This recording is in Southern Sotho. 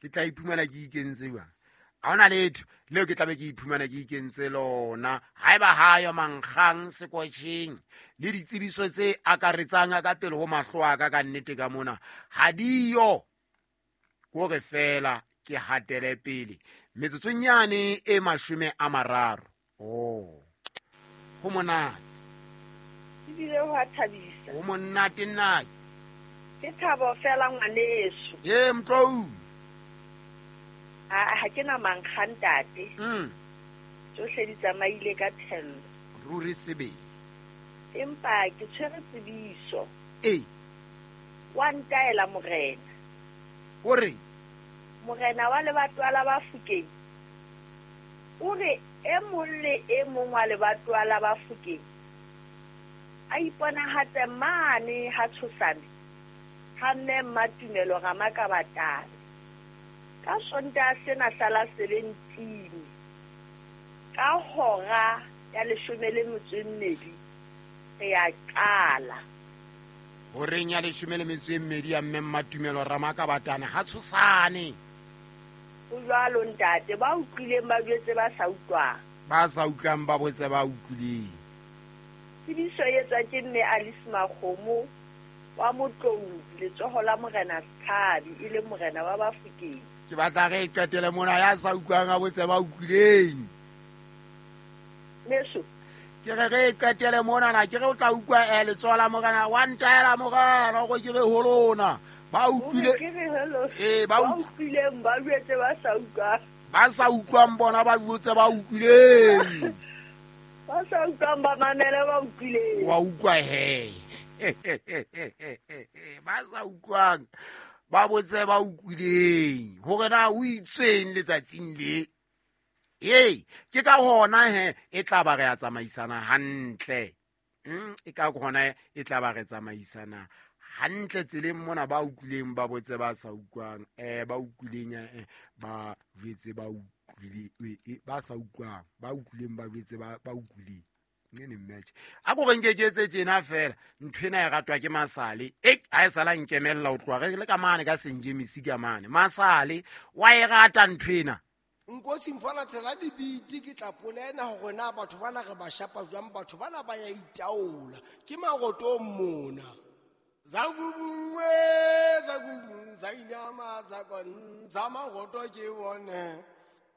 Ke tla iphumana ke ikentse jwang? Ha hona letho leo ke tlabe ke iphumana ke ikentse lona. Haeba hayo mankgang sekotjheng le ditsebiso tse akaretsang ka pele ho mahlo a ka ka nnete ka mona ha diyo, kore fela ke hatele pele metsotsong yane e 30. Oh, ho monate. Ebile ho a thabisa. Ho monate nna. Ke thabo fela ngwaneso. Ee, Mtlou. Ha ke na mankgang ntate. Tsohle di tsamaile ka thello. Ruri sebele. Empa ke tshwere tsebiso. Ee. Wa ntaela morena. O re? Morena wa lebatowa la Bafokeng o re e mong le e mong wa lebatowa la Bafokeng a iponahatse mane ha Tshosane ha Mme Mmatumelo Ramakabatane ka Sontaha sena sa la 17 ka hora ya 12 re ya qala. Horeng ya 12 ya Mme Mmatumelo Ramakabatane ha Tshosane. Ho jwalo ntate, ba utlwileng ba jwetse ba sa utlwang. Ba sa utlwang ba botse ba utlwileng. Tsebiso e etswa ke Mme Alice Makgomo wa Motlou, letsoho la Morena Setshabi, e leng morena wa Bafokeng. Ke batla re e qetele mona, ya sa utlwang a botse ba utlwileng. Meso. Ke re re e qetele mona na, ke re o tla utlwa letsoho la morena, wa ntaela morena hore ke re ho lona. Ba utlwile. Ke re hello. Ee, ba Ba utlwileng ba jwetse ba sa utlwang. Ba sa utlwang bona ba jwetse ba utlwileng. Ba sa utlwang ba mamele ba utlwileng. Wa utlwa he. Ba sa utlwang ba botse ba utlwileng hore na o itsweng letsatsing le. Ee, ke ka hona he e tla ba re a tsamaisana hantle. E ka hona e tla ba re tsamaisana hantle tseleng mona, ba utlwileng ba botse ba sa utlwang, ba utlwileng, ba jwetse ba utlwile, ba sa utlwang, ba utlwileng ba jwetse ba utlwileng. Ne match. A ko re nke ke etse tjena fela, ntho ena e ratwa ke Masale. Ha e sala nkemella ho tloha re le ka mane ka Saint James ka mane. Masale wa e rata ntho ena. Nkosi mfana tshela dibiti ke tla polena hore na batho bana re ba shapa jwang, batho bana ba ya itaola. Ke marotong mona. Zakubungwe, zakubung, zainama, zakon, zamaroto ke bone.